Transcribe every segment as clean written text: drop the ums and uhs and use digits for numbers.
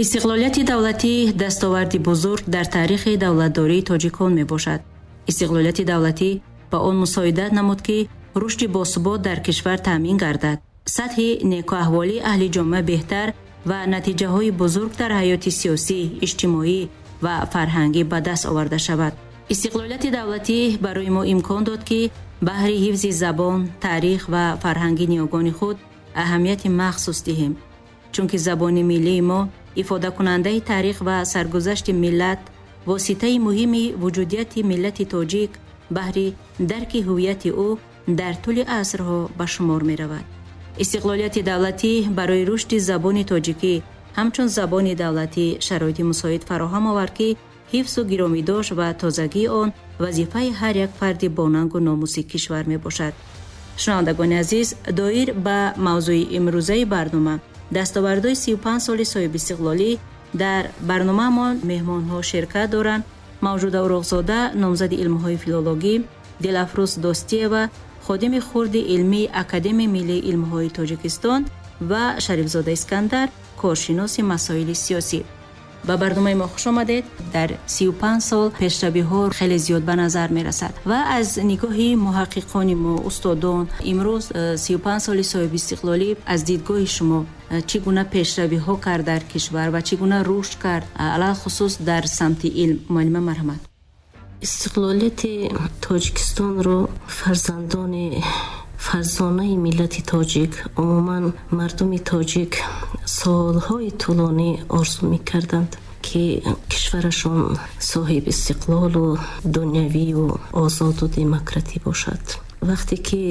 Истиқлолияти давлатӣ дастоварди бузург дар таърихи давлатдории тоҷикон мебошад. Истиқлолияти давлатӣ ба он мусоидат намуд, ки рушди босубот дар кишвар таъмин гардад, сатҳи некуаҳволии аҳли ҷомеа беҳтар ва натиҷаҳои бузург дар ҳаёти сиёсӣ, иҷтимоӣ ва фарҳангӣ ба даст оварда шавад. Истиқлолияти давлатӣ барои мо имкон дод, ки баҳри ҳифзи забон, таърих ва фарҳанги ниёгони худ аҳамияти махсус диҳем. Чунки забони миллии мо ифодакунандаи таърих ва саргузашти миллат, воситаи муҳими вуҷудияти миллати тоҷик баҳри дарки ҳуввияти ӯ дар тӯли асрҳо ба шумор меравад. Истиқлолияти давлатӣ барои рушди забони тоҷикӣ ҳамчун забони давлатӣ шароити мусоид фароҳам овард, ки ҳифзу гиромидошт ва тозагии он вазифаи ҳар як фарди бонангу номуси кишвар мебошад. Шунавандагони азиз, доир ба мавзӯи имрӯзаи барнома дастовардҳои 35 соли соҳибистиқлолӣ дар барномаамон меҳмонҳо ширкат доранд: Мавҷуда Уроқзода, номзади илмҳои филологӣ, Дилафрӯз Достиева, ходими хурди илмии Академияи миллии илмҳои Тоҷикистон ва Шарифзода Искандар, коршиноси масоили сиёсӣ. Ба барномаи мо хуш омадед. Дар 35 сол пешравиҳо хеле зиёд ба назар мерасад ва аз нигоҳи муҳаққиқони мо, устодон, имрӯз 35 соли соҳибистиқлолӣ аз дидгоҳи шумо чӣ гуна пешравиҳо кард дар кишвар ва чӣ гуна рушд кард, алалхусус дар самти илм? Муаллима, марҳамат. Истиқлолияти Тоҷикистонро фарзандони фарзонаи миллати тоҷик, умуман мардуми тоҷик солҳои тӯлонӣ орзу мекарданд, ки кишварашон соҳиби истиқлолу дунявию озоду демократӣ бошад. Вақте ки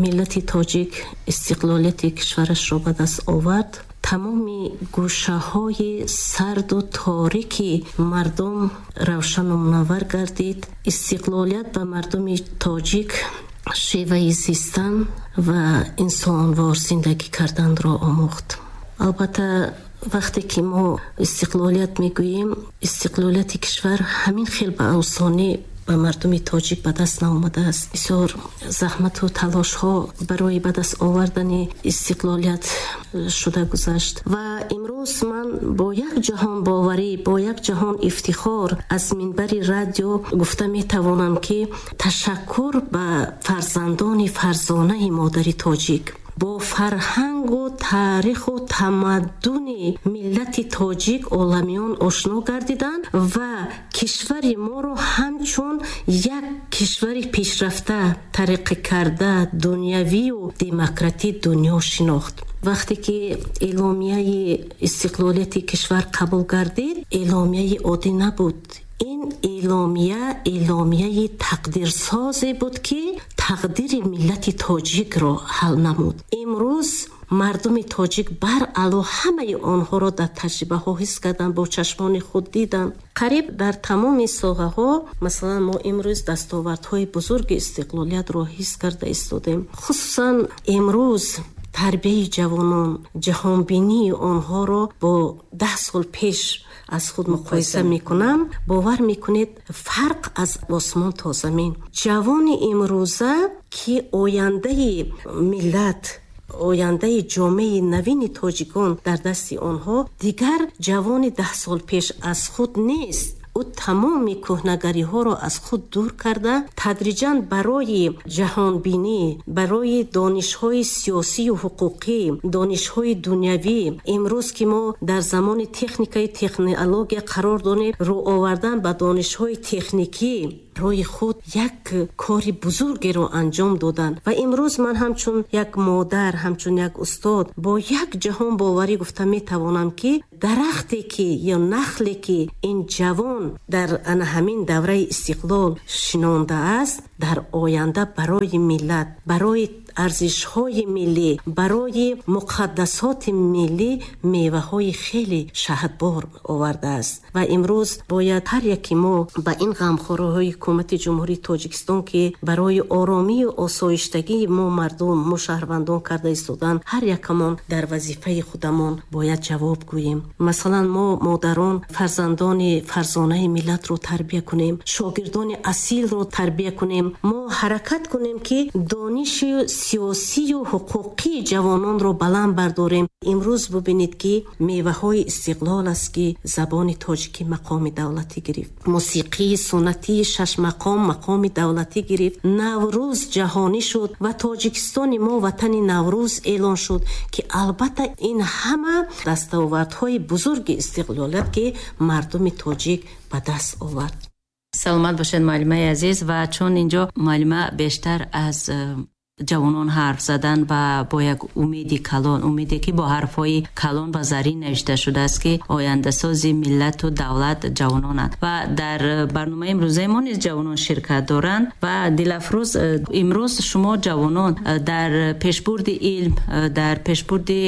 миллати тоҷик истиқлолияти кишварашро ба даст овард, тамоми гӯшаҳои сарду торики мардум равшану мунаввар гардид. Истиқлолият ба мардуми тоҷик шеваи зистан ва инсонвор зиндагӣ карданро омӯхт. Албатта, вақте ки мо истиқлолият мегӯем, истиқлолияти кишвар ҳамин хел ба осонӣ ба мардуми тоҷик ба даст наомадааст. Бисёр заҳмату талошҳо барои ба даст овардани истиқлолият шуда гузашт ва имрӯз ман бо як ҷаҳон боварӣ, бо як ҷаҳон ифтихор аз минбари радио гуфта метавонам, ки ташаккур ба фарзандони фарзонаи модари тоҷик, бо фарҳангу таъриху тамаддуни миллати тоҷик оламиён ошно гардиданд ва кишвари моро ҳамчун як кишвари пешрафта, тараққӣ карда, дунявию демократӣ дунё шинохт. Вақте ки эъломияи истиқлолияти кишвар қабул гардид, эъломияи оддӣ набуд. Ин эъломия эъломияи тақдирсозе буд, ки тақдири миллати тоҷикро ҳал намуд. Имрӯз мардуми тоҷик баръало ҳамаи онҳоро дар таҷрибаҳо ҳис карданд, бо чашмони худ диданд. Қариб дар тамоми соҳаҳо, масалан, мо имрӯз дастовардҳои бузурги истиқлолиятро ҳис карда истодем. Хусусан имрӯз тарбияи ҷавонон, ҷаҳонбинии онҳоро бо 10 сол пеш аз худ муқоиса мекунам, бовар мекунед, фарқ аз осмон то замин. Ҷавони имрӯза, ки ояндаи миллат, ояндаи ҷомеаи навини тоҷикон дар дасти онҳо, дигар ҷавони 10 сол пеш аз худ нест. Ӯ тамоми кӯҳнагариҳоро аз худ дур карда, тадриҷан барои ҷаҳонбинӣ, барои донишҳои сиёсию ҳуқуқӣ, донишҳои дунявӣ, имрӯз ки мо дар замони техникаи технология қарор дорем, рӯ овардан ба донишҳои техникӣ рои худ як кори бузургеро анҷом доданд. Ва имрӯз ман ҳамчун як модар, ҳамчун як устод бо як ҷаҳон боварӣ гуфта метавонам, ки дарахте ки ё нахле ки ин ҷавон дар ана ҳамин давраи истиқлол шинондааст, дар оянда барои миллат, барои арзишҳои миллӣ, барои муқаддасоти миллӣ меваҳои хеле шаҳдбор овардааст. Ва имрӯз бояд ҳар яки мо ба ин ғамхориҳои ҳукумати Ҷумҳурии Тоҷикистон, ки барои оромию осоиштагии мо мардум, мо шаҳрвандон карда истоданд, ҳар якамон дар вазифаи худамон бояд ҷавоб гӯем. Масалан, мо модарон фарзандони фарзонаи миллатро тарбия кунем, шогирдони асилро тарбия кунем, мо ҳаракат кунем, ки дониши Сиёсию ҳуқуқии ҷавононро баланд бардорем. Имрӯз бубинед, ки меваҳои истиқлол аст, ки забони тоҷикӣ мақоми давлатӣ гирифт, мусиқии суннатии шашмақом мақоми давлатӣ гирифт, Наврӯз ҷаҳонӣ шуд ва Тоҷикистони мо ватани Наврӯз эълон шуд, ки албатта ин ҳама дастовардҳои бузурги истиқлолият, ки мардуми тоҷик ба даст овард. Саломат бошед, муаллимаи азиз. Ва чун инҷо муаллима бештар аз ҷавонон ҳарф задан ва бо як умеди калон, умеде ки бо ҳарфҳои калон ва зарин навишта шудааст, ки ояндасози миллату давлат ҷавононанд, ва дар барномаи имрӯзаи мо низ ҷавонон ширкат доранд. Ва Дилафрӯз, имрӯз шумо ҷавонон дар пешбурди илм, дар пешбурди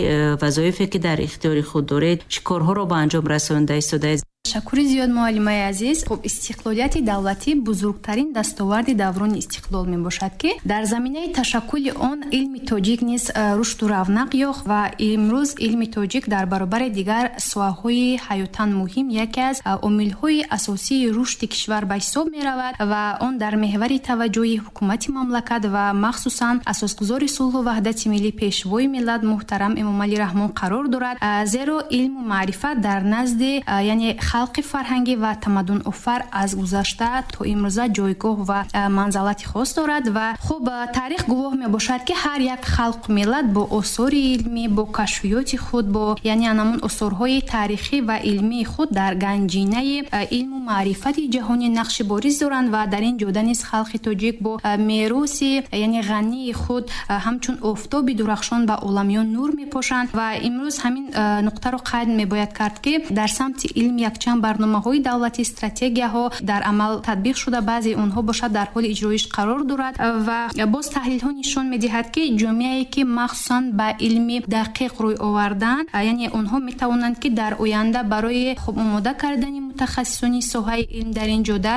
вазоифе ки дар ихтиёри худ доред, чӣ корҳоро ба анҷом расонда истодаед? Ташаккури зиёд, муаллимаи азиз. Хуб, истиқлолияти давлатӣ бузургтарин дастоварди даврони истиқлол мебошад, ки дар заминаи ташаккули он илми тоҷик низ рушду равнақ ёфт ва имрӯз илми тоҷик дар баробари дигар соҳаҳои ҳаётан муҳим яке аз омилҳои асосии рушди кишвар ба ҳисоб меравад ва он дар меҳвари таваҷҷӯҳи ҳукумати мамлакат ва махсусан асосгузори сулҳу ваҳдати миллӣ, Пешвои миллат муҳтарам Эмомалӣ Раҳмон қарор дорад, зеро илму маърифат дар назди яъне халқи фарҳангӣ ва тамаддунофар аз гузашта то имрӯза ҷойгоҳ ва манзалати хос дорад. Ва хуб, таърих гувоҳ мебошад, ки ҳар як халқу миллат бо осори илмӣ, бо кашфиёти худ, бо яъне анамун осорҳои таърихӣ ва илмии худ дар ганҷинаи илму маърифати ҷаҳонӣ нақши бориз доранд ва дар ин ҷода низ халқи тоҷик бо мероси яъне ғании худ ҳамчун офтоби дурахшон ба оламиён нур мепошанд. Ва имрӯз ҳамин нуқтаро қайд мебояд кард, ки дар самти илм якчанд барномаҳои давлатӣ, стратегияҳо дар амал татбиқ шуда, баъзеи онҳо бошад дар ҳоли иҷроиш қарор дорад. Ва боз таҳлилҳо нишон медиҳад, ки ҷомеае ки махсусан ба илми дақиқ рӯй оварданд, яъне онҳо метавонанд, ки дар оянда барои хуб омода кардани мутахассисони соҳаи илм дар ин ҷода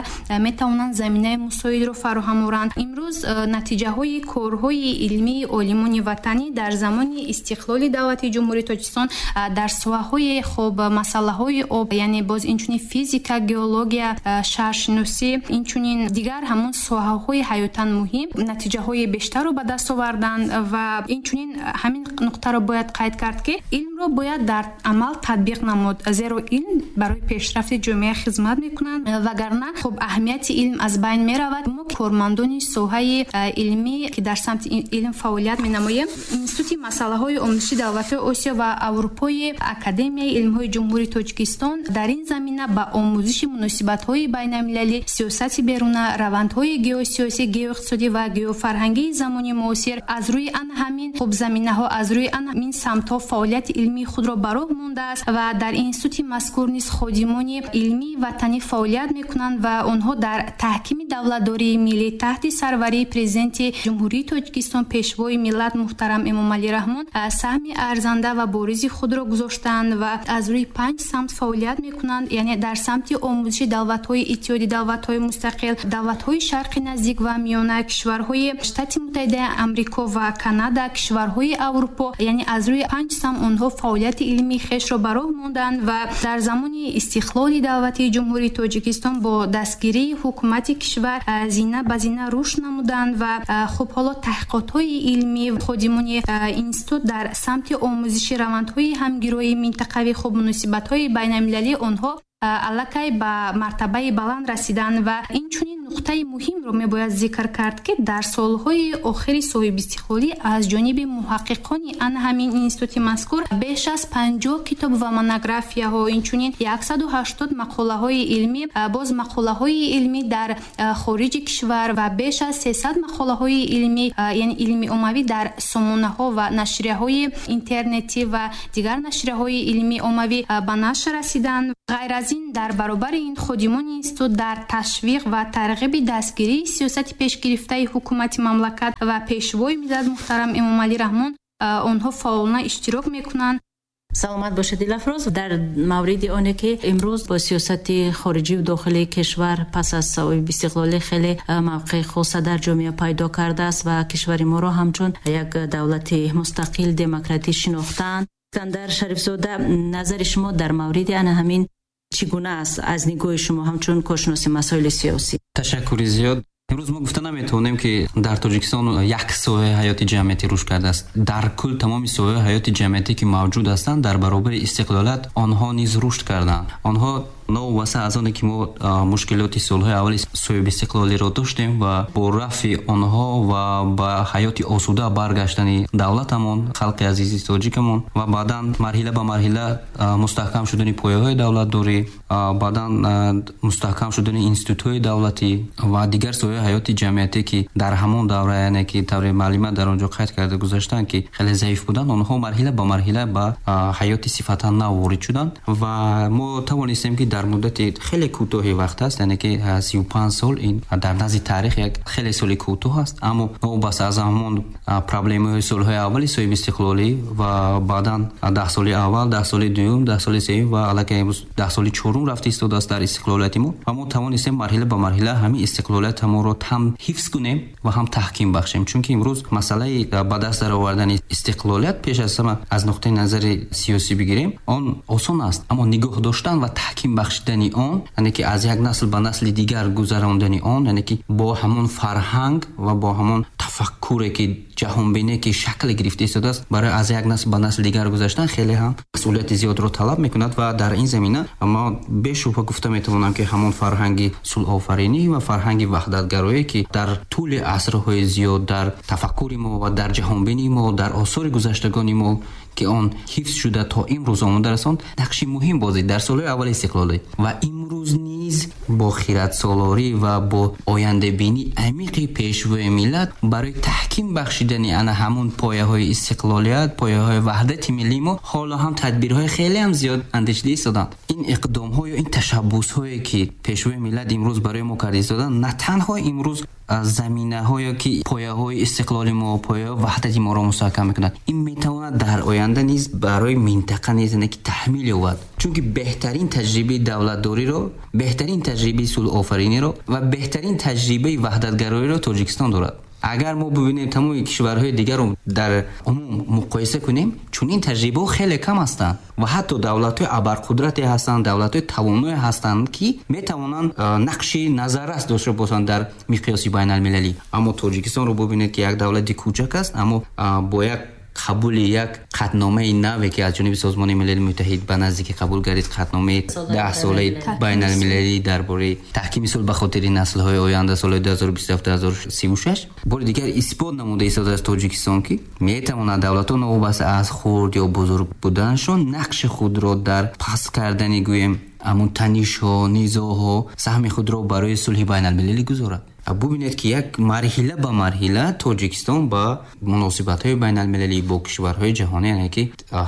метавонанд заминаи мусоидро фароҳам оранд. Имрӯз натиҷаҳои корҳои илмии олимони ватанӣ дар замони истиқлоли давлати Ҷумҳурии Тоҷикистон дар соҳаҳои хуб масъалаҳои об, яъне боз инчунин физика, геология, шаҳршиносӣ, инчунин дигар ҳамон соҳаҳои ҳаётан муҳим натиҷаҳои бештарро ба даст оварданд. Ва инчунин ҳамин нуқтаро бояд қайд кард, ки илмро бояд дар амал татбиқ намуд, зеро илм барои пешрафти ҷомеа хизмат мекунад, вагарна хуб аҳамияти илм аз байн меравад. Мо, кормандони соҳаи илмӣ, ки дар самти илм фаъолият менамоем, Институти масъалаҳои омӯзиши давлатҳои Осиё ва Аврупои Академияи илмҳои Ҷумҳурии Тоҷикистон, дар ин замина ба омӯзиши муносибатҳои байналмилалӣ, сиёсати беруна, равандҳои геосиёсӣ, геоиқтисодӣ ва геофарҳангии замони муосир аз рӯи ана ҳамин хуб заминаҳо, аз рӯи ана ҳамин самтҳо фаъолияти илмии худро ба роҳ мондааст ва дар институти мазкур низ ходимони илмии ватанӣ фаъолият мекунанд ва онҳо дар таҳкими давлатдории миллӣ таҳти сарварии Президенти Ҷумҳурии Тоҷикистон, Пешвои миллат муҳтарам Эмомалӣ Раҳмон саҳми арзанда ва боризи худро гузоштаанд ва аз рӯи 5 самт фаъолият мекунанд, яъне дар самти омӯзиши давлатҳои Иттиҳоди давлатҳои мустақил, давлатҳои Шарқи Наздик ва Миёна, кишварҳои Штати Муттаҳидаи Амрико ва Канада, кишварҳои Аврупо, яъне аз рӯи 5 самт онҳо фаъолияти илмии хешро ба роҳ монданд. Ва дар замони истиқлоли давлатии Ҷумҳурии Тоҷикистон бо дастгирии ҳукумати кишвар зина ба зина рушд намуданд ва хуб ҳоло таҳқиқотҳои илмӣ ходимони институт дар самти омӯзиши равандҳои ҳамгироии минтақавӣ, хуб муносибатҳои байналмилалӣ онҳо аллакай ба мартабаи баланд расиданд. Ва инчунин нуқтаи муҳимро мебояд зикр кард, ки дар солҳои охири соҳибистиқлолӣ аз ҷониби муҳаққиқони ана ҳамин институти мазкур беш аз 50 китоб ва монографияҳо, инчунин 180 мақолаҳои илмӣ, боз мақолаҳои илмӣ дар хориҷи кишвар ва беш аз 300 мақолаҳои илмӣ, яъне илми оммавӣ дар сомонаҳо ва нашрияҳои интернетӣ ва дигар нашрияҳои илмии оммавӣ ба нашр расиданд. Ғайр аз ин, дар баробари ин ходимони институт дар ташвиқ ва тарғиби дастгирии сиёсати пешгирифтаи ҳукумати мамлакат ва Пешвои миллат муҳтарам Эмомалӣ Раҳмон онҳо фаъолона иштирок мекунанд. Саломат бошед, Дилафрӯз. Дар мавриди оне ки имрӯз бо сиёсати хориҷию дохилии кишвар пас аз соҳибистиқлолӣ хеле мавқеи хоса дар ҷомеа пайдо кардааст ва кишвари моро ҳамчун як давлати мустақил, демократӣ шинохтаанд. Искандар Шарифзода, назари шумо дар мавриди ана ҳамин чӣ гуна аст аз нигоҳи шумо ҳамчун коршиноси масоили сиёсӣ? Ташаккури зиёд. Имрӯз мо гуфта наметавонем, ки дар Тоҷикистон як соҳаи ҳаёти ҷамъиятӣ рушд кардааст. Дар кул тамоми соҳаҳои ҳаёти ҷамъиятӣ, ки мавҷуд ҳастанд, дар баробари истиқлолият онҳо низ рушд карданд. Онҳо новобаста аз оне, ки мо мушкилоти солҳои аввали соҳибистиқлолиро доштем ва бо рафъи онҳо ва ба ҳаёти осуда баргаштани давлатамон, халқи азизи тоҷикамон ва баъдан марҳила ба марҳила мустаҳкам шудани пояҳои давлатдорӣ, баъдан мустаҳкам шудани институтҳои давлатӣ ва дигар соҳаҳои ҳаёти ҷамъиятӣ, ки дар ҳамон давра, яъне ки тавре муаллима дар он ҷо қайд карда гузаштанд, ки хеле заиф буданд, онҳо марҳила ба марҳила ба ҳаёти сифатан нав ворид шуданд ва мо тавонистем, ки дар муддати хеле кӯтоҳи вақт аст, яъне ки 35 сол, ин дар назди таърих як хеле соли кӯтоҳ аст, аммо новобаста аз ҳамон проблемаҳои солҳои аввали соҳибистиқлолӣ ва баъдан 10 соли аввал, 10 соли дуюм, 10 соли сеюм ва аллакай имрӯз 10 соли чорум рафта истодааст дар истиқлолияти мо ва мо тавонистем марҳила ба марҳила ҳамин истиқлолиятамонро ҳам ҳифз кунем ва ҳам таҳким бахшем. Чунки имрӯз масъалаи ба даст даровардани истиқлолият пеш аз ҳама аз нуқтаи назари сиёсӣ бигирем, он осон аст, аммо нигоҳ доштан ва таҳким бахшидани он, яъне ки аз як насл ба насли дигар гузарондани он, яъне ки бо ҳамон фарҳанг ва бо ҳамон тафаккуре ки ҷаҳонбине ки шакл гирифта истодааст, барои аз як насл ба насли дигар гузаштан хеле ҳам масъулияти зиёдро талаб мекунад. Ва дар ин замина мо бешубҳа гуфта метавонам, ки ҳамон фарҳанги сулҳофаринӣ ва фарҳанги ваҳдатгароӣ, ки дар тӯли асрҳои зиёд дар тафаккури мо ва дар ҷаҳонбинии мо, дар осори гузаштагони мо, ки он ҳифз шуда то имрӯз омода расонд, нақши муҳим бозид дар солҳои аввали истиқлолӣ ва имрӯз низ бо хиратсолорӣ ва бо ояндабинии амиқи пешвои миллат барои таҳким бахшидани ана ҳамон пояҳои истиқлолият, пояҳои ваҳдати миллии мо ҳоло ҳам тадбирҳои хеле ҳам зиёд андешида истоданд. Ин иқдомҳо ё ин ташаббусҳое, ки пешвои миллат имрӯз барои мо карда истоданд, на танҳо имрӯз заминаҳое, ки пояҳои истиқлоли мо, пояҳои ваҳдати моро мустаҳкам мекунад, ин метавонад дар оянда низ барои минтақа низ ки таҳмил ёбад. Чунки беҳтарин таҷрибаи давлатдориро, беҳтарин таҷрибаи сулҳофариниро ва беҳтарин таҷрибаи ваҳдатгароиро Тоҷикистон дорад. Агар мо бибинем тамоми кишварҳои дигарро дар умум муқоиса кунем, чунин таҷрибаҳо хеле кам ҳастанд ва ҳатто давлатҳои абарқудрате ҳастанд, давлатҳои тавоное ҳастанд, ки метавонанд нақши назаррас дошта бошанд дар миқёси байналмилалӣ. Аммо Тоҷикистонро бибинед, ки як давлати кӯчак аст, аммо бо як қабули як қатъномаи наве, ки аз ҷониби Созмони Милали Муттаҳид ба наздикӣ қабул гардид, қатъномаи 10-солаи байналмилалӣ дар бораи таҳкими сулҳ ба хотири наслҳои оянда солҳои 2027-2036, бори дигар исбот намуда истодааст Тоҷикистон, ки метавонад давлатҳо новобаста аз хурд ё бузург буданашон нақши худро дар паст кардани, гӯем, ҳамон танишҳо, низоъҳо саҳми худро барои сулҳи байналмилалӣ гузорад. Бубинед, ки як марҳила ба марҳила Тоҷикистон ба муносибатҳои байналмилалӣ бо кишварҳои ҷаҳонӣ, яъне ки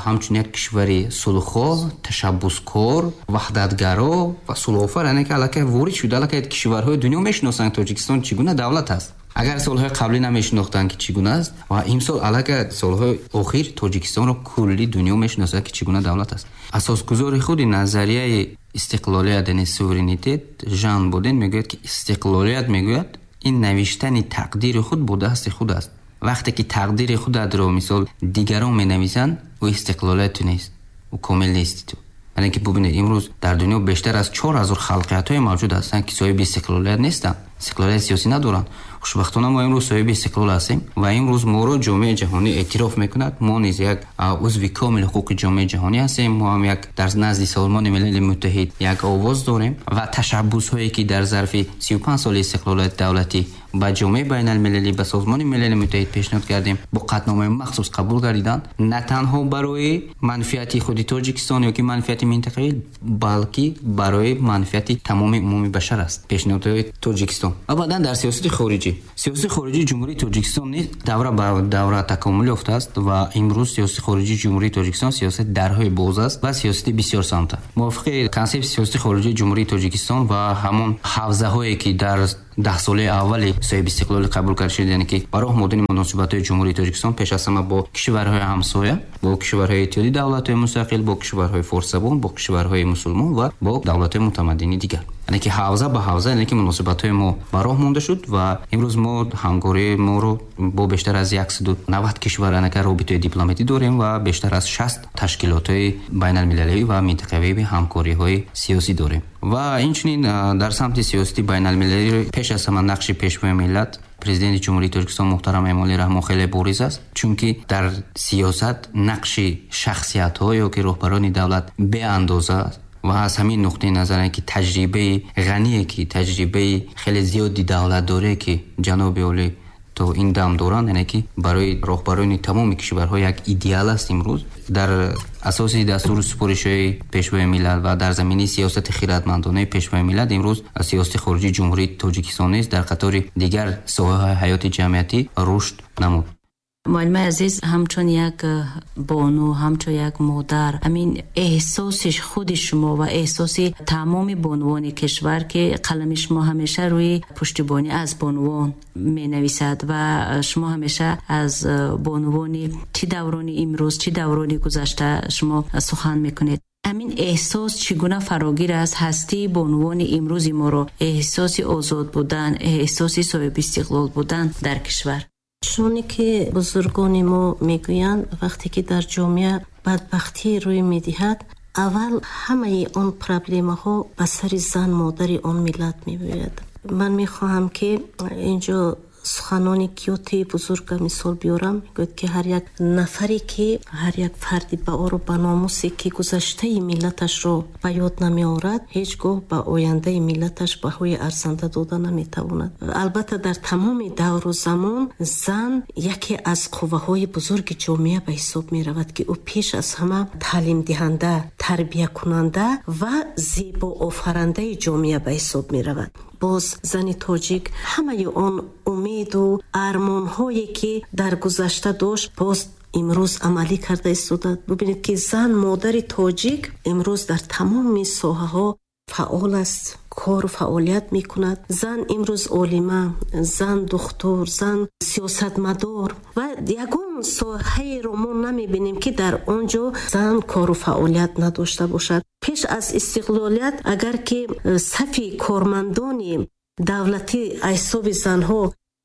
ҳамчун як кишвари сулҳхоҳ, ташаббускор, ваҳдатгаро ва сулҳофар, яъне ки аллакай ворид шуда, аллакай кишварҳои дунё мешиносанд Тоҷикистон чӣ гуна давлат аст. Агар солҳои қаблӣ намешинохтанд, ки чӣ гуна аст, ва имсол аллакай солҳои охир Тоҷикистонро кулли дунё мешиносад, ки чӣ гуна давлат аст. Асосгузори худи назарияи истиқлолият, яъне суверенитет, Жан Боден мегӯяд, ки истиқлолият, мегӯяд, ин навиштани тақдири худ бо дасти худ аст. Вақте ки тақдири худатро мисол дигарон менависанд, ӯ истиқлолият ту нест, ӯ комил нести ту. Яъне ки бубинед, имрӯз дар дунё бештар аз 4000 халқиятҳое мавҷуд ҳастанд, ки соҳиби истиқлолият нестанд, истиқлолияти сиёсӣ надоранд. Хушбахтона мо имрӯз соҳиби истиқлол ҳастем ва имрӯз моро ҷомеаи ҷаҳонӣ эътироф мекунад. Мо низ як узви комили ҳуқуқи ҷомеаи ҷаҳонӣ ҳастем. Мо ҳам як дар назди Созмони Милали Муттаҳид як овоз дорем ва ташаббусҳое, ки дар зарфи 35 соли истиқлолияти давлатӣ ба ҷомеаи байналмилалӣ, ба Созмони Милали Муттаҳид пешниҳод кардем, бо қатъномаи махсус қабул гардиданд, на танҳо барои манфиати худи Тоҷикистон ё ки манфиати минтақавӣ, балки барои манфиати тамоми умуми башар аст пешниҳодҳои Тоҷикистон. Ва баъдан дар сиёсати хориҷӣ, сиёсати хориҷии Ҷумҳурии Тоҷикистон низ давра ба давра такомул ёфтааст ва имрӯз сиёсати хориҷии Ҷумҳурии Тоҷикистон сиёсати дарҳои боз аст ва сиёсати бисёрсамта. Мувофиқи консепсияи сиёсати хориҷии Ҷумҳурии Тоҷикистон ва ҳамон ҳавзаҳое, ки дар 10 солаи аввали соҳиби истиқлолӣ қабул карда шуд, яъне ки ба роҳ модани муносибатҳои Ҷумҳурии Тоҷикистон пеш аз ҳама бо кишварҳои ҳамсоя, бо кишварҳои Иттиҳоди давлатҳои мустақил, бо кишварҳои форсзабон, бо кишварҳои мусулмон ва бо давлатҳои мутамаддини дигар. Яъне ки ҳавза ба ҳавза, яъне ки муносибатҳои мо ба роҳ монда шуд ва имрӯз мо ҳамкории моро бо бештар аз 190 кишвар, яъне ки робитаи дипломатӣ дорем ва бештар аз 60 ташкилотҳои байналмилалӣ ва минтақавӣ ҳамкориҳои сиёсӣ дорем. Ва инчунин дар самти сиёсати байналмилалӣ пеш аз ҳама нақши Пешвои миллат, Президенти Ҷумҳурии Тоҷикистон муҳтарам Эмомалӣ Раҳмон хеле бориз аст, чунки дар сиёсат нақши шахсиятҳо ё ки роҳбарони давлат беандоза аст ва аз ҳамин нуқтаи назар, ки таҷрибаи ғание, ки таҷрибаи хеле зиёди давлатдорие, ки ҷаноби олӣ то ин дам доранд, яъне ки барои роҳбарони тамоми кишварҳо як идеал аст. Имрӯз дар асоси дастуру супоришҳои Пешвои миллат ва дар заминаи сиёсати хиратмандонаи Пешвои миллат имрӯз сиёсати хориҷии Ҷумҳурии Тоҷикистон низ дар қатори дигар соҳаҳои ҳаёти ҷамъиятӣ рушд намуд. Муаллимаи азиз, ҳамчун як бону, ҳамчун як модар, ҳамин эҳсоси худи шумо ва эҳсоси тамоми бонувони кишвар, ки қалами шумо ҳамеша рӯи пуштибонӣ аз бонувон менависад ва шумо ҳамеша аз бонувони чӣ даврони имрӯз, чӣ даврони гузашта шумо сухан мекунед. Ҳамин эҳсос чӣ гуна фарогир аст ҳастии бонувони имрӯзи моро, эҳсоси озод будан, эҳсоси соҳибистиқлол будан дар кишвар? Чуноне ки бузургони мо мегӯянд, вақте ки дар ҷомеа бадбахтӣ рӯй медиҳад, аввал ҳамаи он проблемаҳо ба сари зан, модари он миллат мебояд. Ман мехоҳам, ки инҷо суханони Гётеи бузурга мисол биёрам. Мегӯяд, ки ҳар як нафаре, ки ҳар як фарди баору ба номусе, ки гузаштаи миллаташро ба ёд намеорад, ҳеҷ гоҳ ба ояндаи миллаташ баҳои арзанда дода наметавонад. Албатта, дар тамоми давру замон зан яке аз қувваҳои бузурги ҷомеа ба ҳисоб меравад, ки ӯ пеш аз ҳама таълимдиҳанда, тарбиякунанда ва зебоофарандаи ҷомеа ба ҳисоб меравад. Боз зани тоҷик ҳамаи он умеду армонҳое, ки дар гузашта дошт, боз имрӯз амалӣ карда истода. Бубинед, ки зан, модари тоҷик имрӯз дар тамоми соҳаҳо фаъол аст, кору фаъолият мекунад. Зан имрӯз олима, зан духтур, зан сиёсатмадор ва ягон соҳаеро мо намебинем, ки дар он ҷо зан кору фаъолият надошта бошад. Пеш аз истиқлолият агар ки сафи кормандони давлатӣ аз ҳисоби занҳо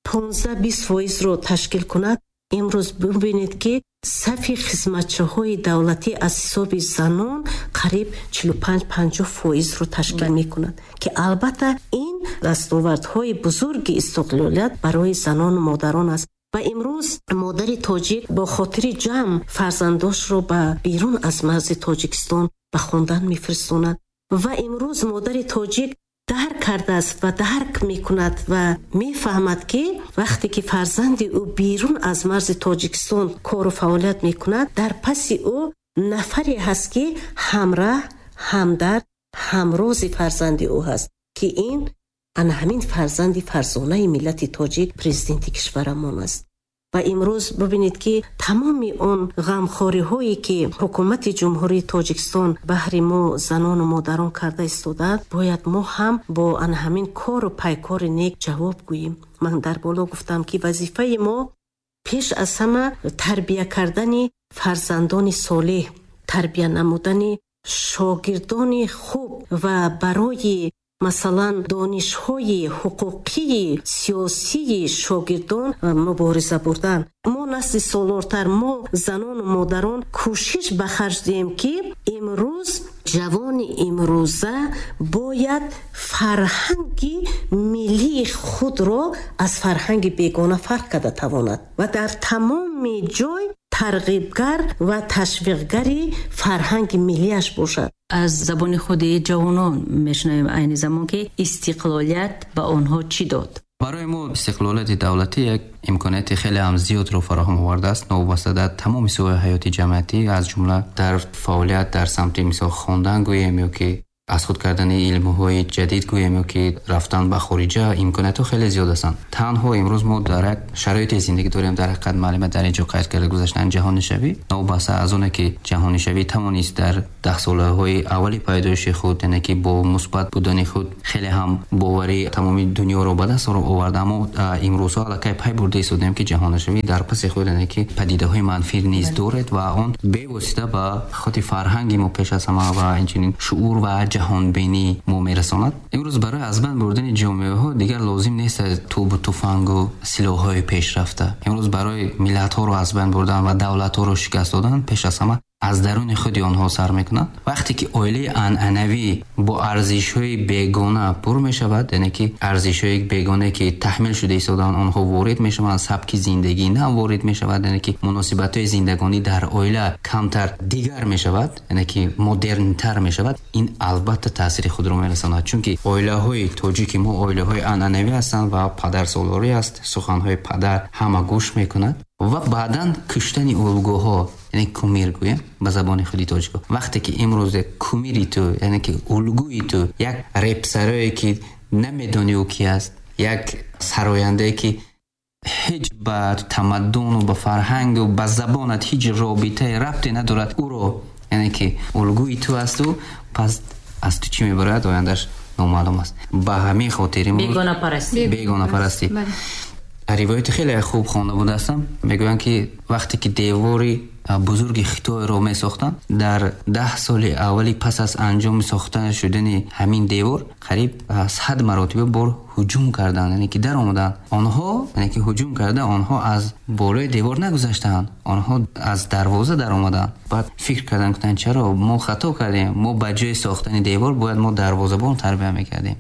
15-20 фоизро ташкил кунад, имрӯз бибинед, ки сафи хизматчиҳои давлатӣ аз ҳисоби занон қариб 45-50 фоизро ташкил мекунад, ки албатта ин дастовардҳои бузурги истиқлолият барои занону модарон аст. Ва имрӯз модари тоҷик бо хотири ҷамъ фарзандошро ба берун аз марзи Тоҷикистон ба хондан мефиристонад. Ва имрӯз модари тоҷик дарк кардааст ва дарк мекунад ва мефаҳмад, ки вақте ки фарзанди ӯ берун аз марзи Тоҷикистон кору фаъолият мекунад, дар паси ӯ нафаре ҳаст, ки ҳамраҳ, ҳамдард, ҳамрози фарзанди ӯ ҳаст, ки ин ана ҳамин фарзанди фарзонаи миллати тоҷик, президенти кишварамон аст. Ва имрӯз бибинед, ки тамоми он ғамхориҳое, ки ҳукумати Ҷумҳурии Тоҷикистон баҳри мо занону модарон карда истодааст, бояд мо ҳам бо ана ҳамин кору пайкори нек ҷавоб гӯем. Ман дар боло гуфтам, ки вазифаи мо пеш аз ҳама тарбия кардани фарзандони солеҳ, тарбия намудани шогирдони хуб ва барои масалан донишҳои ҳуқуқии сиёсии шогирдон мубориза бурдан. Мо насли солортар, мо занону модарон кӯшиш ба харҷ диҳем, ки имрӯз ҷавони имрӯза бояд фарҳанги миллии худро аз фарҳанги бегона фарқ карда тавонад ва дар тамоми ҷой тарғибгар ва ташвиқгари фарҳанги миллиаш бошад. Аз забони худи ҷавонон мешунавем айни замон, ки истиқлолият ба онҳо чӣ дод? Барои мо истиқлолияти давлатӣ як имконияти хеле ҳам зиёдро фароҳам овардааст, новобаста дар тамоми соҳаи ҳаёти ҷамъиятӣ, аз ҷумла дар фаъолият дар самти мисол хондан гӯем ё ки аз худ кардани илмҳои ҷадид гӯем ё ки рафтан ба хориҷа, имкониятҳо хеле зиёд ҳастанд. Танҳо имрӯз мо дар як шароите зиндагӣ дорем, дар ҳақиқат муаллима дар инҷо қайд карда гузаштан, ҷаҳонишавӣ, новобаста аз оне ки ҷаҳонишавӣ тавонист дар даҳсолаҳои аввали пайдоиши худ, яъне ки бо мусбат будани худ хеле ҳам боварии тамоми дунёро ба даст овард, аммо имрӯзҳо аллакай пай бурда истодаем, ки ҷаҳонишавӣ дар паси худ, яъне ки падидаҳои манфӣ низ дорад ва он бевосита ба худи фарҳанги мо пеш аз ҳама ва инчунин шуур ва ҷаҳонбинии мо мерасонад. Имрӯз барои аз байн бурдани ҷомеаҳо дигар лозим нест тӯбу туфангу силоҳҳои пешрафта. Имрӯз барои миллатҳоро аз байн бурдан ва давлатҳоро шикаст додан пеш аз ҳама аз даруни худи онҳо сар мекунад. Вақте ки оилаи анъанавӣ бо арзишҳои бегона пур мешавад, яъне ки арзишҳои бегона ки таҳмил шуда истодаанд, онҳо ворид мешаванд, сабки зиндагӣ нав ворид мешавад, яъне ки муносибатҳои зиндагонӣ дар оила камтар дигар мешавад, яъне ки модернтар мешавад. Ин албатта таъсири худро мерасонад, чунки оилаҳои тоҷики мо оилаҳои анъанавӣ ҳастанд ва падарсолорӣ аст, суханҳои падар ҳама гӯш мекунад ва баъдан куштани улгӯҳо, яъне кумир гӯем ба забони худи тоҷико. Вақте ки имрӯз кумири ту, яъне ки улгӯи ту як репсарое ки намедонӣ ӯ ки аст, як сарояндае ки ҳеҷ ба тамаддуну ба фарҳангу ба забонат ҳеҷ робитае рабте надорад, ӯро яъне ки улгӯи ту асту, пас аз ту чӣ мебарояд, ояндаш номаълум аст. Ба ҳамин хотир бегонапарастӣ. Ривояти хеле хуб хонда будаастам. Мегӯянд ки вақте ки девори бузурги Хитойро месохтанд, дар 10 соли аввали пас аз анҷоми сохта шудани ҳамин девор қариб 100 маротиба бор ҳуҷум карданд, яъне ки даромаданд. Онҳо, яъне ки ҳуҷум карда, онҳо аз болои девор нагузаштанд, онҳо аз дарвоза даромаданд. Баъд фикр карданд, гуфтанд чаро мо хато кардем, мо ба ҷои сохтани девор бояд мо дарвозабон тарбия мекардем,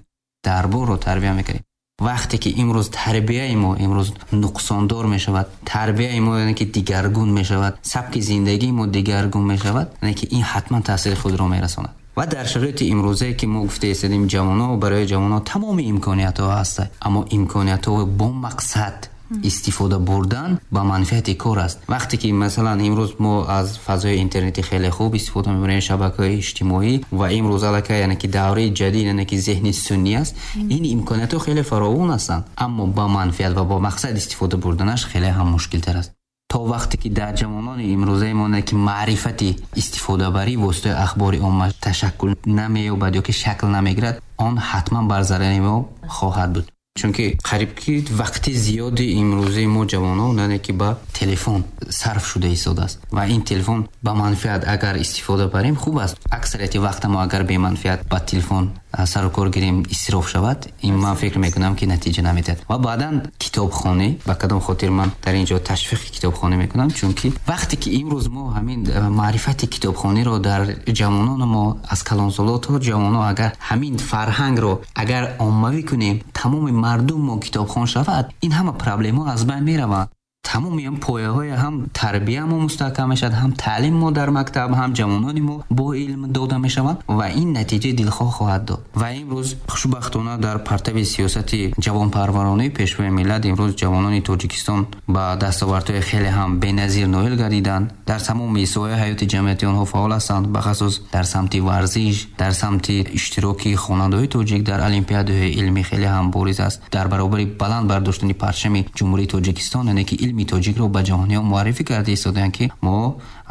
дарборро тарбия мекардем. Вақте ки имрӯз тарбияи мо имрӯз нуқсондор мешавад, тарбияи мо яъне ки дигаргун мешавад, сабки зиндагии мо дигаргун мешавад, яъне ки ин ҳатман таъсири худро мерасонад. Ва дар шароити имрӯзае ки мо гуфта истодем, ҷавонҳо, барои ҷавонҳо тамоми имкониятҳо ҳаст, аммо имкониятҳо бо мақсад истифода бурдан ба манфиати кор аст. Вақте ки масалан имрӯз мо аз фазои интернетӣ хеле хуб истифода мебарем, шабакаҳои иҷтимоӣ, ва имрӯз аллакай яъне ки давраи ҷадид, яъне ки зеҳни суннӣ аст, ин имкониятҳо хеле фаровон ҳастанд, аммо ба манфиат ва бо мақсад истифода бурданаш хеле ҳам мушкилтар аст. То вақте ки дар ҷавонони имрӯзаи мо ки маърифати истифодабарӣ воситаи ахбори омма ташаккул намеёбад ё ки шакл намегирад, он ҳатман бар зарари мо хоҳад буд. Чунки қариб ки вақти зиёди имрӯзаи мо ҷавонон яъне ки ба телефон сарф шуда истодааст ва ин телефон ба манфиат агар истифода барем хуб аст. Аксарияти вақта мо агар беманфиат ба телефон сару кор гирем, исроф шавад, ин ман фикр мекунам ки натиҷа намедиҳад. Ва баъдан китобхонӣ, ба кадом хотир ман дар ин ҷо ташвиқи китобхонӣ мекунам, чунки вақте ки имрӯз мо ҳамин маърифати китобхониро дар ҷавонони мо аз калонсоло то ҷавонон агар ҳамин фарҳангро агар оммавӣ кунем, тамоми мардум мо китобхон шавад, ин ҳама проблемҳо аз байн мераванд. Тамоми ҳам пояҳои ҳам тарбия мо мустаҳкам мешавад, ҳам таълим мо дар мактаб, ҳам ҷавонони мо бо илм дода мешаванд ва ин натиҷаи дилхоҳ хоҳад дод. Ва имрӯз хушбахтона дар партави сиёсати ҷавонпарваронаи Пешвои миллат имрӯз ҷавонони Тоҷикистон ба дастовардҳои хеле ҳам беназир ноил гардиданд. Дар тамоми соҳаи ҳаёти ҷамъиятии онҳо фаъол ҳастанд, бахусус дар самти варзиш, дар самти иштироки хонандаҳои тоҷик дар олимпиадаҳои илмӣ хеле ҳам бориз аст. Дар баробари баланд бардоштани парчами Ҷумҳурии Тоҷикистон, яъне ки илми тоҷикро ба ҷаҳониён муаррифӣ карда истодаанд, ки мо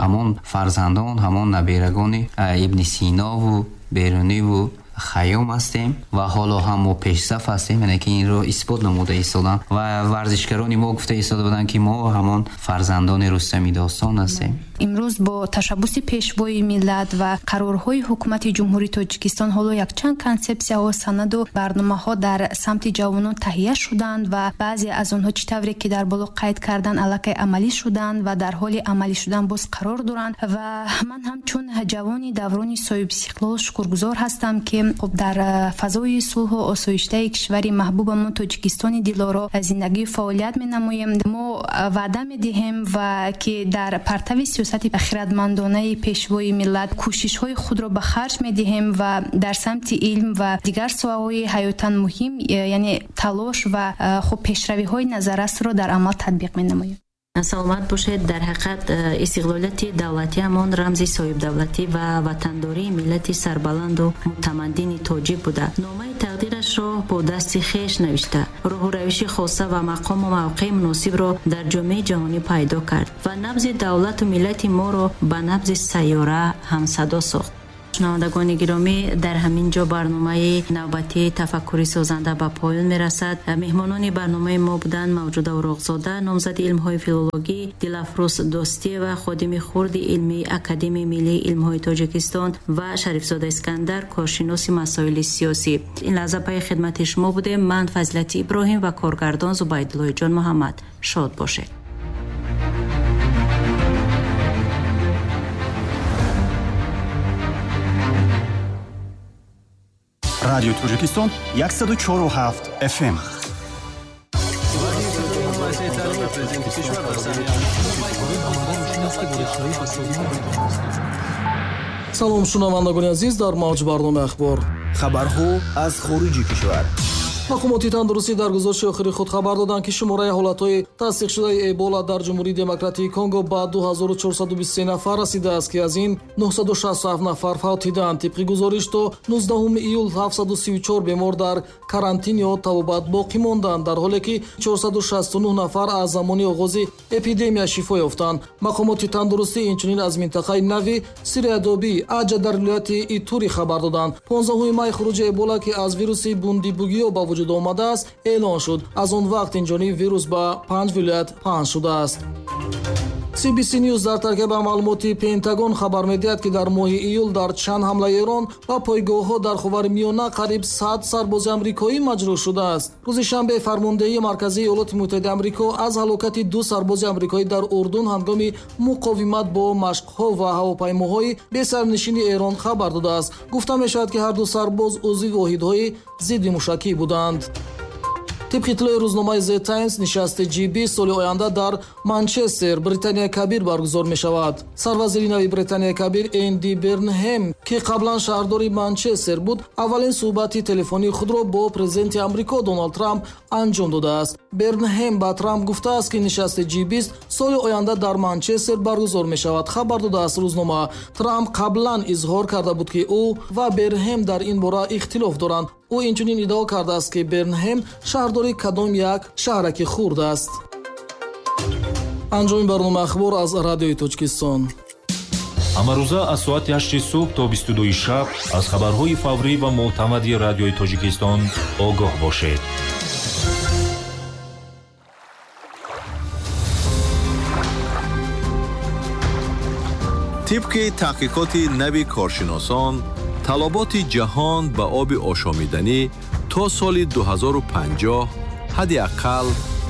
ҳамон фарзандон, ҳамон наберагони Ибни Синову Беруниву Хайём ҳастем ва ҳоло ҳам мо пешсаф ҳастем, яъне ки инро исбот намуда истоданд. Ва варзишгарони мо гуфта истода буданд, ки мо ҳамон фарзандони Рустами достон ҳастем. Имрӯз бо ташаббуси Пешвои миллат ва қарорҳои ҳукумати Ҷумҳурии Тоҷикистон ҳоло якчанд консепсияҳо, санаду барномаҳо дар самти ҷавонон таҳия шуданд ва баъзе аз онҳо чӣ тавре ки дар боло қайд кардан аллакай амалӣ шуданд ва дар ҳоли амалӣ шудан боз қарор доранд. Ва ман ҳамчун ҷавони даврони соҳибистиқлол шукргузор ҳастам, ки хуб дар фазои сулҳу осоиштаи кишвари маҳбубамон Тоҷикистони дилоро зиндагию фаъолият менамоем. Мо ваъда медиҳем ва ки дар партави сиёсати хирадмандонаи Пешвои миллат кӯшишҳои худро ба харҷ медиҳем ва дар самти илм ва дигар соҳаҳои ҳаётан муҳим, яъне талош ва хуб пешравиҳои назаррасро дар амал татбиқ менамоем. Саломат бошед. Дар ҳақиқат истиқлолияти давлатиамон рамзи соҳибдавлатӣ ва ватандории миллати сарбаланду мутамаддини тоҷик буда, номаи тақдирашро бо дасти хеш навишта, роҳу равиши хоса ва мақому мавқеи муносибро дар ҷомеаи ҷаҳонӣ пайдо кард ва набзи давлату миллати моро ба набзи сайёра ҳамсадо сохт. Шунавандагони гиромӣ, дар ҳамин ҷо барномаи навбатии тафаккури созанда ба поён мерасад. Меҳмонони барномаи мо буданд Мавҷуда Уроқзода, номзади илмҳои филологӣ, Дилафрӯз Достиева, ходими хурди илмии Академияи миллии илмҳои Тоҷикистон ва Шарифзода Искандар, коршиноси масоили сиёсӣ. Ин лаҳза пайи хидмати шумо будем. Ман Фазилати Иброҳим ва коргардон Зубайдуллоҷон Муҳаммад. Шод бошед. Радио Тоҷикистон 104.7 FM. Салом шунавандагони азиз, дар мавҷ барномаи ахбор. Хабарҳо аз хориҷи кишвар. Мақомоти тандурустӣ дар гузориши охири худ хабар доданд, ки шумораи ҳолатҳои тасдиқшудаи Эбола дар Ҷумҳурии Демократии Конго ба 2423 нафар расидааст, ки аз ин 967 нафар фавтиданд. Тибқи гузориш, то 19 июл 734 бемор дар карантин ё табобат боқӣ монданд, дар ҳоле ки 469 нафар аз замони оғози эпидемия шифо ёфтанд. Мақомоти тандурустӣ инчунин аз минтақаи нави Сириядобӣ Аҷа дар вилояти Итури хабар доданд. 15 май хуруҷи Эбола, ки аз вируси Бундибугио ба вуҷуд омадааст, эълон шуд. Аз он вақт инҷониб вирус ба 5 вилоят паҳн шудааст. CBC News дар таркиба маълумоти Пентагон хабар медиҳад, ки дар моҳи июл дар чанд ҳамлаи Эрон ба пойгоҳҳо дар Ховари Миёна қариб 100 сарбози амрикоӣ маҷрӯҳ шудааст. Рӯзи шанбе фармондеҳии марказии Иёлоти Муттаҳидаи Амрико аз ҳалокати 2 сарбози амрикоӣ дар Урдун ҳангоми муқовимат бо машқҳо ва ҳавопаймоҳои бесарнишини Эрон хабар додааст. Гуфта мешавад, ки ҳар ду сарбоз узви воҳидҳои зидди мушакӣ буданд. Тибқи иттилои рӯзномаи The Times, нишасти G20 соли оянда дар Манчестер, Британияи Кабир баргузор мешавад. Сарвазири нави Британияи Кабир Энди Бернҳем, ки қаблан шаҳрдори Манчестер буд, аввалин суҳбати телефонии худро бо президенти Амрико Доналд Трамп анҷом додааст. Бернҳем ба Трамп гуфтааст, ки нишасти G20 соли оянда дар Манчестер баргузор мешавад, хабар додааст рӯзнома. Трамп қаблан изҳор карда буд, ки ӯ ва Бернҳем дар ин бора ихтилоф доранд. Ӯ инчунин иддао кардааст, ки Бернҳем шаҳрдори кадом як шаҳраки хурд аст. Анҷоми барномаи ахбор аз Радиои Тоҷикистон. Ҳамарӯза аз соати 8 субҳ то 22 шаб аз хабарҳои фаврӣ ва мӯътамади Радиои Тоҷикистон огоҳ бошед. Тибқи таҳқиқоти нави коршиносон, талаботи ҷаҳон ба оби ошомиданӣ то соли 2050 ҳадди ақал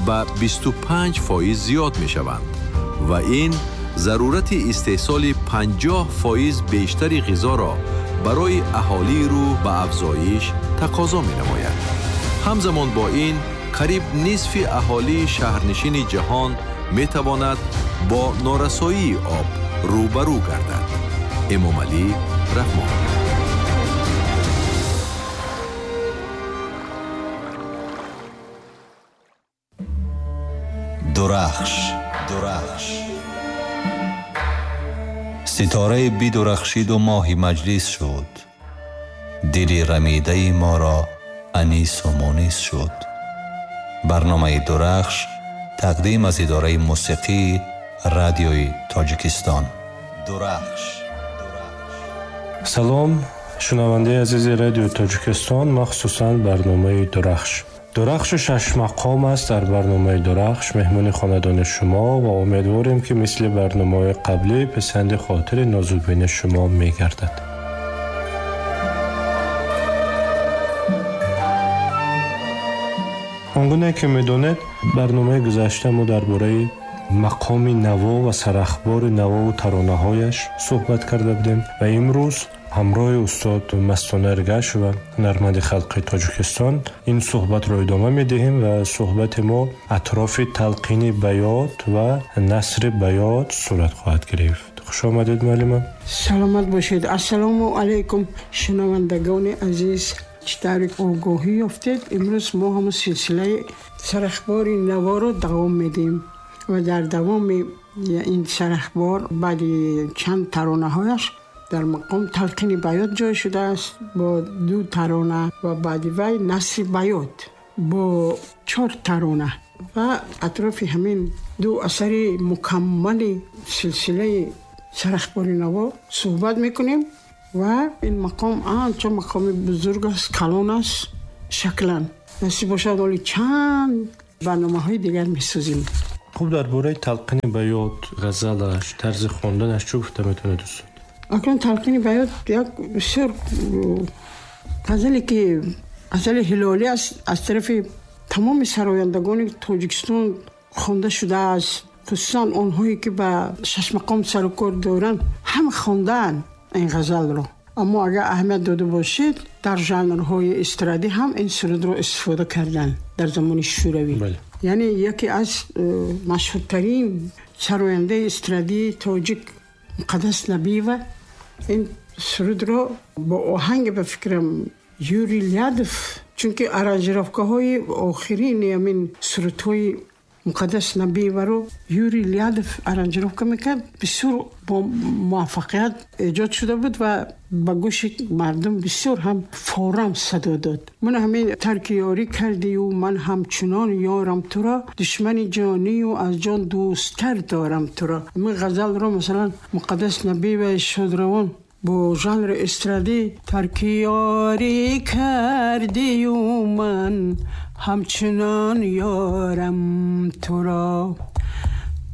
ба 25% зиёд мешаванд ва ин зарурати истеҳсоли 50% бештари ғизоро барои аҳолии рӯ ба афзоиш тақозо менамояд. Ҳамзамон бо ин, қариб нисфи аҳолии шаҳрнишини ҷаҳон метавонад бо норасоии об рӯбарӯ гардад. Эмомалӣ Раҳмон. Дурахш, дурахш. Ситораи бидурахшиду моҳи маҷлис шуд. Дили рамидаи моро анису мунис шуд. Барномаи Дурахш тақдим аз идораи мусиқии Радиои Тоҷикистон. Дурахш. Салом, шунавандаи азизи Радиои Тоҷикистон, махсусан барномаи Дурахш. Дурахшу шашмақом аст. Дар барномаи Дурахш меҳмони хонадони шумо ва умедворем, ки мисли барномаҳои қаблӣ писанди хотири нозукбини шумо мегардад. Он гуна ки медонед, барномаи гузашта мо дар бораи мақоми наво ва сарахбори навову таронаҳояш суҳбат карда будем ва имрӯз ҳамроҳи устод Мастона Эргашева, ҳунарманди халқи Тоҷикистон, ин суҳбатро идома медиҳем ва суҳбати мо атрофи талқини баёт ва насри баёт сурат хоҳад гирифт. Хуш омадед, муаллима. Саломат бошед. Ассалому алайкум, шунавандагони азиз. Чӣ тавре огоҳӣ ёфтед, имрӯз мо ҳамон силсилаи сарахбори наворо давом медиҳем ва дар давоми ин сарахбор баъди чанд таронаҳояш дар мақом талқини баёт ҷой шудааст бо 2 тарона ва баъди вай насри баёт бо 4 тарона ва атрофи ҳамин 2 асари мукаммали силсилаи сарахбори наво суҳбат мекунем. Ва ин мақом анча мақоми бузург аст, калон аст шаклан. Насиб бошад, ҳоли чанд барномаҳои дигар месозем. Хуб, дар бораи талқини баёт, ғазалаш, тарзи хонданаш чӣ гуфта метавонед, устод? Акнун талқини баёт як бисёр ғазале ки ғазали ҳилолӣ аст, аз тарафи тамоми сарояндагони Тоҷикистон хонда шудааст. Хусусан онҳое ки ба шашмақом сарукор доранд, ҳама хондаанд ин ғазалро. Аммо агар аҳамият дода бошед, дар жанрҳои эстрадӣ ҳам ин сурудро истифода карданд дар замони шӯравӣ. Яъне яке аз машҳуртарин сарояндаи эстрадии тоҷик Муқаддас Набиева ин сурудро бо оҳанге, ба фикрам, Юрий Лядов, чунки аранжировкаҳои охирини ҳамин сурудҳои Муқаддас Набиеваро Юрий Лядов аранжировка мекард, бисёр бо муваффақият эҷод шуда буд ва ба гӯши мардум бисёр ҳам форам садо дод. Ман ҳамин тарки ёрӣ кардию ман ҳамчунон ёрам туро, душмани ҷонию аз ҷон дӯсттар дорам туро. Ҳамин ғазалро, масалан, Муқаддас Набиева шодравон бо жанри эстрадӣ тарки ёрӣ кардию ман ҳамчунон ёрам туро.